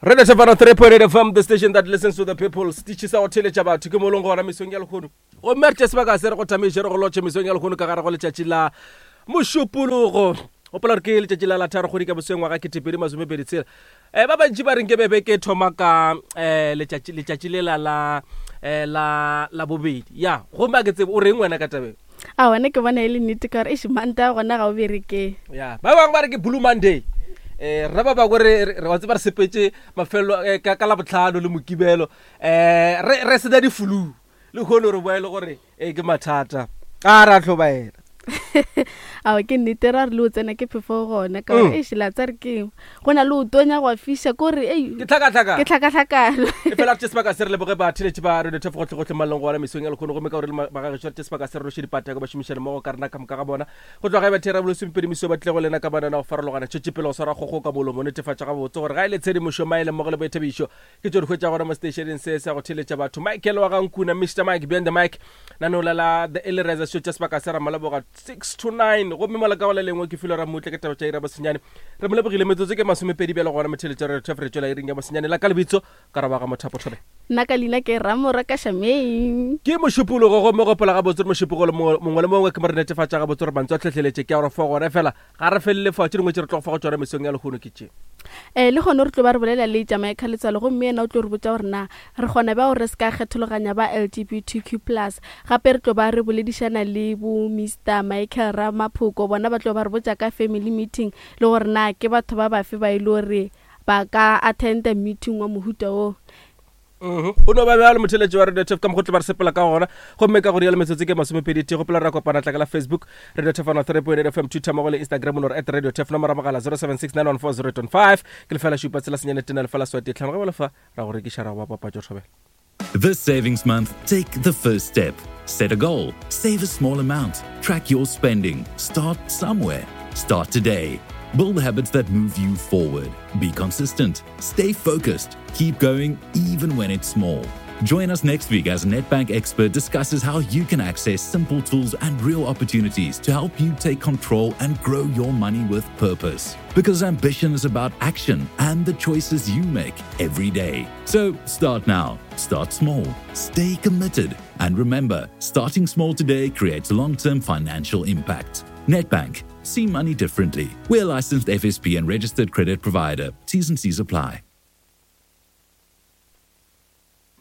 Radio Tshepano 3.8 FM, the station that listens to the people. Setiši sa go theletša batho ke mo leng gona mesong ya lehono. Gomme re tše sebaka se re go tamiše re go lotšhe mesong ya lehono ka gare go letšatši la Mošupologo. Gopola gore ke letšatši la la tharo kgwedi ka boseng ngwaga ketepedi masomepedi tshela. Eh, ba bantši ba reng ke bebe ke thoma ka eh, letšatši letšatši lela la eh, la la bobedi. Ya, gomme a ke tsebe o reng wena ka tabeng? A wena ke bona e le nnete ka gore eish Mantaga gona ga o bereke. Ya, ba bangwe ba re ke Blue Monday. Eh, rena ba bangwe re re wa tseba re sepetše mafelelo eh, ka ka Labohlano le Mokibelo. Eh, re re sena di-flu. Lehono re boa e le gore eh, ke mathata. A ra hlobaela. Ao ke nnete ra re le o tsena ke phefo gona ka gore mm. eish la tsa re ke go na le o tonya go a fiša ko re ei ke tlhakatlhakano ke tlhakatlhakano e fela re tše sebaka se re leboge batheletši ba radio thefo gotlhe gotlhe maleng gona mesong ya lekgono gomme ka gore le bagagešo re tše sebaka se re roše dipatako ba šomišane mmogo ka rena ka moka ga bona go tloga e bathera bolesomepedi meso ba tlile go lena ka banana go farologana tšwetše pele go swara kgogo ka molomo netefatša gabotse gore ga e le tshedimošo maele mmogo le boithabišo ke tšo di hwetša gona mo seteišeneng se sa go theletša batho michael wa gankuna mr mike beyond the mic nanola la the early riser show tša sebaka se ramaleboga 6 to 9 gomme mola ka go le lengwe ke filwe ramutle ke taba tša ira bosenyane re mo lebogile metsotso ke masomepedi bjalo gona motheletša re re tšwela iring ya bosenyane la ka lebitso ka roba ga mothapo thobe nna ka leina ke ramora ka shameng ke mošupologo gomme gopola gabotse re mošupologo mongwe le mongwe ke mo re netefatša gabotse gore mantswe a tlhohleletše ke a gore fo gona fela Ga re felele fao, tše dingwe tše re tlo go fa go tšona mesong ya lehono ke tše. Ee, le gona re tlo ba re bolela le Jamaica Letswalo gomme yena o tlo re botša gore na re kgona bjang gore re se ka kgethologanya ba LGBTQ plus. Gape re tlo ba re boledišana le bo Mister Michael Ramaphoko, bona ba tlo ba re botša ka family meeting le gore na ke batho ba bafe ba e le gore ba ka attenda meeting wa mohuta wo. Mhm. Go no ba bjalo motheletši wa Radio Tef ka mokgotlo ba re sepela ka gona gomme ka go rialo metsotso ke masomepedi tee gopola re kopana tla ka la Facebook Radio Tef 103.8 FM Twitter mmogo le Instagram no re at Radio Tef nomoro ya mogala 0769140815 ke lefela šupa tshela senyane tena lefela swati tlhano ge ba lefa ra go rekiša ra go ba papatšo thobela This savings month, take the first step. Set a goal, save a small amount, track your spending, start somewhere. Start today. Build habits that move you forward. Be consistent, stay focused, keep going even when it's small. Join us next week as Nedbank Expert discusses how you can access simple tools and real opportunities to help you take control and grow your money with purpose. Because ambition is about action and the choices you make every day. So start now, start small, stay committed, and remember starting small today creates long term financial impact. Nedbank, see money differently. We're licensed FSP and registered credit provider. T's and C's apply.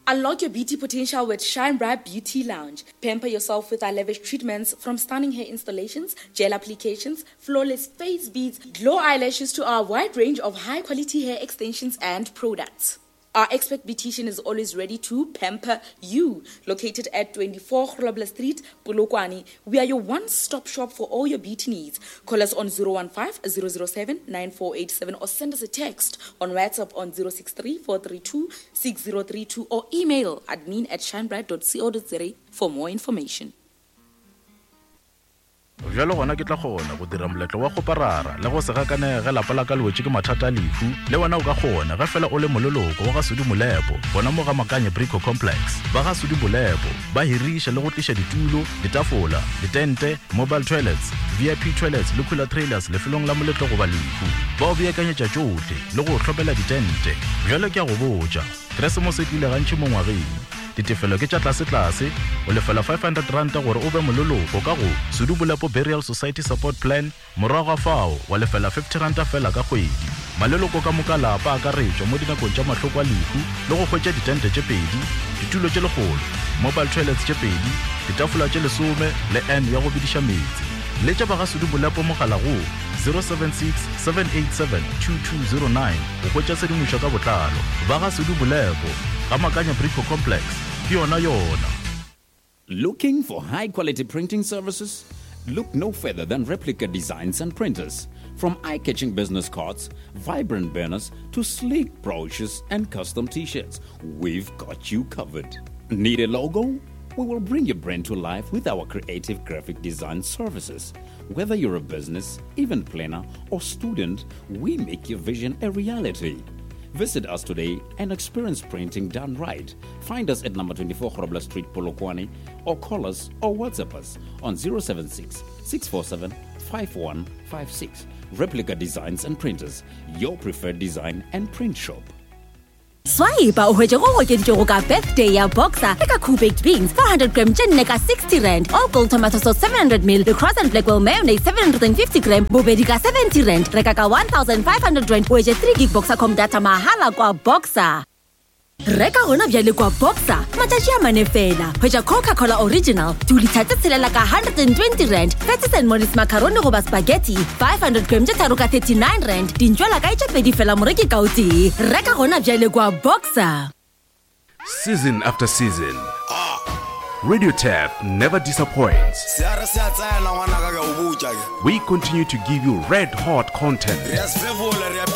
Unlock your beauty potential with Shine Bright Beauty Lounge. Pamper yourself with our lavish treatments from stunning hair installations, gel applications, flawless face beads, glow eyelashes to our wide range of high quality hair extensions and products. Our expert beautician is always ready to pamper you. Located at 24 Grobler Street, Polokwane, we are your one-stop shop for all your beauty needs. Call us on 015 007 9487 or send us a text on WhatsApp on 063 432 6032 or email admin at shinebright.co.za for more information. Bjalo gona ke tla kgona go dira moletlo wa go parara le go se gakanege ge lapa la ka le wetše ke mathata a lehu. Le wena o ka kgona ge fela o le moleloko wa ga Sudi Molepo gona mo ga Makanye Brico Complex. Ba ga Sudi Molepo ba hiriša le go tliša ditulo, ditafola, ditente, mobile toilets, VIP toilets le cooler trailers lefelong la moletlo goba lehu. Ba o beakanyetša tšohle le go o hlopela ditente. Bjalo ke a go botša, Keresemose e tlile gantši mo ngwageng. Ditefelo ke tša tlasetlase, o lefela R500 gore o be moleloko ka go Sudu Bolepo Burial Society Support Plan, morago ga fao wa lefela R50 feela ka kgwedi. Maleloko ka moka lapa a akaretšwa mo dinakong tša mahloko a lehu le go hwetša ditente tše pedi, ditulo tše lekgolo, mobile toilets tše pedi, ditafola tše lesome le urn ya go bediša meetse. Letša ba ga Sudu Bolepo mogala go 076 787 2209 go hwetša tshedimošo ka botlalo. Ba ga Sudu Bolepo, ga Makanya Brico Complex, ke yona yona. Looking for high quality printing services? Look no further than Replica Designs and Printers. From eye catching business cards, vibrant banners, to sleek brochures and custom t shirts, we've got you covered. Need a logo? We will bring your brand to life with our creative graphic design services. Whether you're a business, event planner, or student, we make your vision a reality. Visit us today and experience printing done right. Find us at number 24 Grobler Street, Polokwane, or call us or WhatsApp us on 076 647 5156. Replica Designs and Printers, your preferred design and print shop. Swipa o hwetše go okeditšwego ka birthday ya Boxer le ka Cool Baked Beans 400 gram tše nne ka 60 rand, All Gold Tomato Sauce 700 ml le Cross and Blackwell Mayonnaise 750 gram bobedi ka 70 rand. Reka ka 1500 rand o hwetše 3 gig Boxercom data mahala kwa Boxer. Reka gona bjale kwa Boxer matšatši a mane fela. Hwetša Coca-Cola Original dilitha tše tshelela ka 120 rand, Patties and Mollies macaroni goba spaghetti 500 gram tše tharo ka 39 rand, dintšwela kae tše pedi fela moreki ka o tee. Reka gona bjale kwa Boxer. Season after season, Radio Turf never disappoints. Se a re se a tsena ngwanaka ke a o botša ke. We continue to give you red hot content. Re a se fefola re a.